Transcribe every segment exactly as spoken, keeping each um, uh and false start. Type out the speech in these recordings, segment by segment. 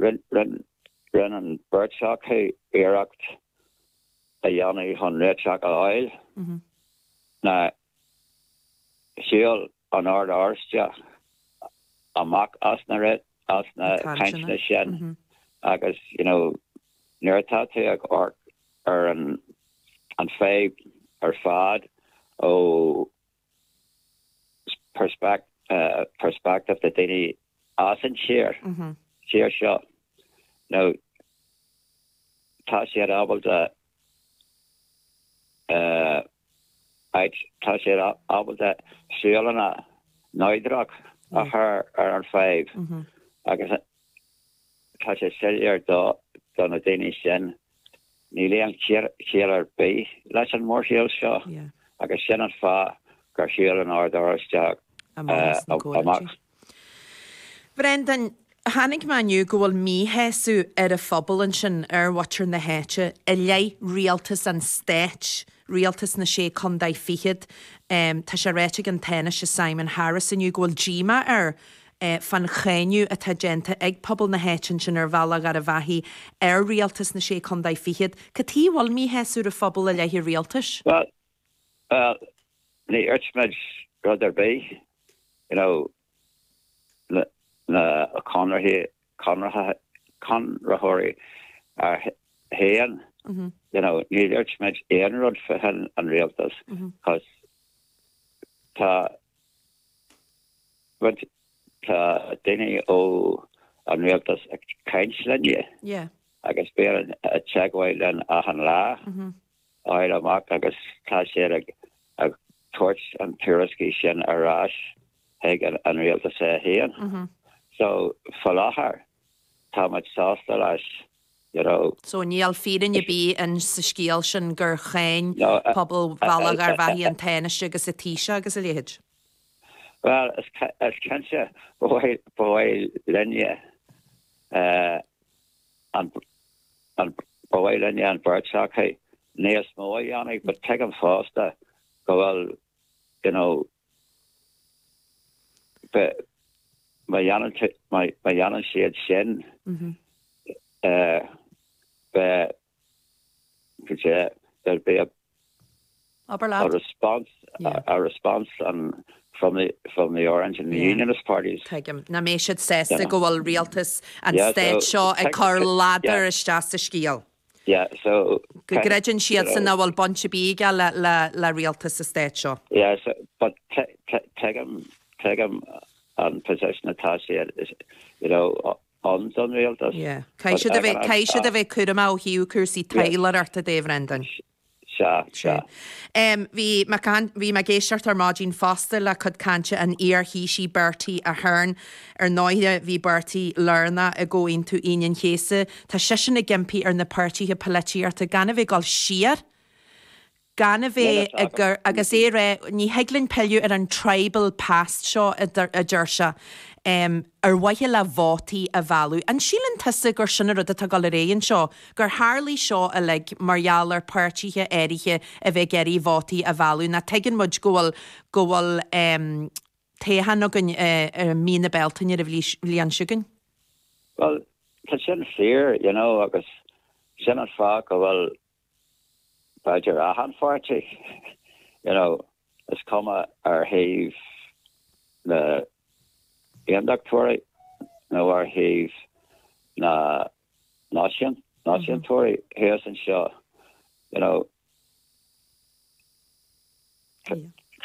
Rinne an bheirt acu iarracht a dhéanamh chun réiteach a fháil. Na shiúil an Ord Oráisteach amach as na as na cainteanna sin agus you know nuair atá tú ag amharc ar an an fadhb ar fad ó perspect uh, perspective na daoine as an tír tír seo no tá siad ábalta uh, tá siad ábalta súlanna náidrach a chur ar an fadhb agus tá sé soiléir do do na daoine sin níl aon chiall ar bith leis an mórshiúl seo agus sin an fáth gur shiúil an Ord Oráisteach amach. Brendan, tháinig mé inniu go bhfuil míshásamh ar an phobal ansin ar mhuintir na háite i leith rialtas an stáit, rialtas na sé contae fichead. Um, tá sé ráite ag an Tánaiste Simon Harris inniu go bhfuil díomá air eh, fan cháineadh atá déanta ag pobal na háite sin ar Bhealach Gharbhachaidh ar rialtas na sé contae fichead. Cad chuige bhfuil míshásamh ar phobal i leith an rialtais? Well, well, ní dúirt rud ar bith, you know, na, na conarthaí conraitheoirí féin you know, ní dúirt muid aon rud faoi an rialtas cos tá tá daoine ó an rialtas ag caint linne Yeah. agus bíonn teagmháil linn achan lá áil amach agus tá sé ag ag tabhairt an tuairiscí sin ar ais ag an, an rialtas é féin. So faoi láthair tá muid sásta leis you know, So níl fírinne ar bith in sa scéal sin gur cháin No, uh, pobal Bhealach Gharbhachaidh an Tánaiste agus an Taoiseach agus a leithéid. Well is is cinnte ba mhaith linne uh, an an ba mhaith linne an bheirt acu níos mó a dhéanamh, but tuigim fosta go bhfuil you know be má dhéanann má dhéanann siad sin uh, be there'll be a Abair a response Yeah. a, a response um, from the from the Orange and the Yeah. Unionist parties. Tuigim nach mbeidh siad sásta Yeah. go bhfuil rialtas an Yeah, stáit so- seo ag cur ladar Yeah. isteach sa scéal. Yeah, so Go gcreideann siad san know, nach bhfuil baint ar bith aige le le le rialtas sa stáit seo. Yeah, so but tuigim tuigim an position atá siad is you know on don rialtas. Yeah. Caithfidh siad a bheith caithfidh siad a bheith cúramach ó thaobh cúrsaí taidhleoireachta de Bhrendan. Sea, sea. Um, bhí bhí mé ag éisteacht ar maidin fosta le cuid cainte an iar-Thaoisigh Bertie Ahern ar ndóigh bhí Bertie lárnach i gComhaontú Aoine an Chéasta, Tá seisean ag impí ar na páirtithe polaitíochta gan a bheith ag dul siar, gan a bheith Yeah, ag agus é rá ní thig linn pilleadh ar an tribal past seo a deir sé. Um, ar mhaithe le vótaí a mhealladh. An síleann tusa gur sin rud atá ag dul ar aghaidh anseo, gur tharla seo uilig mar gheall ar páirtithe áirithe a bheith ag iarraidh vótaí a mhealladh, na tuigeann muid go bhfuil go bhfuil um, toghchán againn uh, mí na Bealtaine ar a bhliain seo chugainn? Well, tá sin fíor, you know, agus sin an fáth go bhfuil b'fhéidir achan pháirtí, you know, is cuma ar thaobh na aontachtóirí nó ar thaobh na náisiún náisiúntóirí thuas anseo, you know,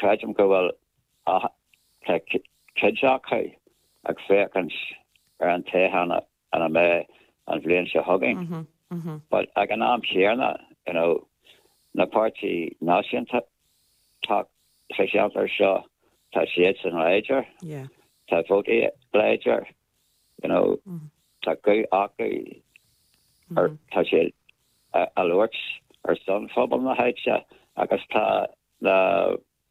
creidim go bhfuil cuid acu ag féachaint ar an toghchán an a mbeidh an bhliain seo chugainn. But ag an am céanna, you know, na páirtí náisiúnta tá sa cheantar seo tá siad san láidir, Yeah. tá vótaí láidir, you know, tá guth acu ar tá siad ag labhairt ar son phobal na háite agus tá na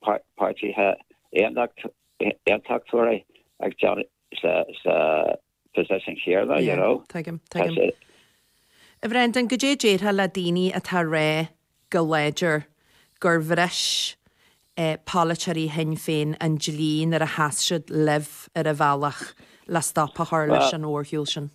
páirtithe aontachtóirí ag déanamh sa sa position chéanna, you know. Tuigim, tuigim. A Bhrendan cad é déarfá le daoine atá ag rá go láidir gur bhris eh, polaiteoirí Shinn Féin an dlí nuair a sheas siad libh ar an bhealach le stop a chur leis an mhórshiúl sin.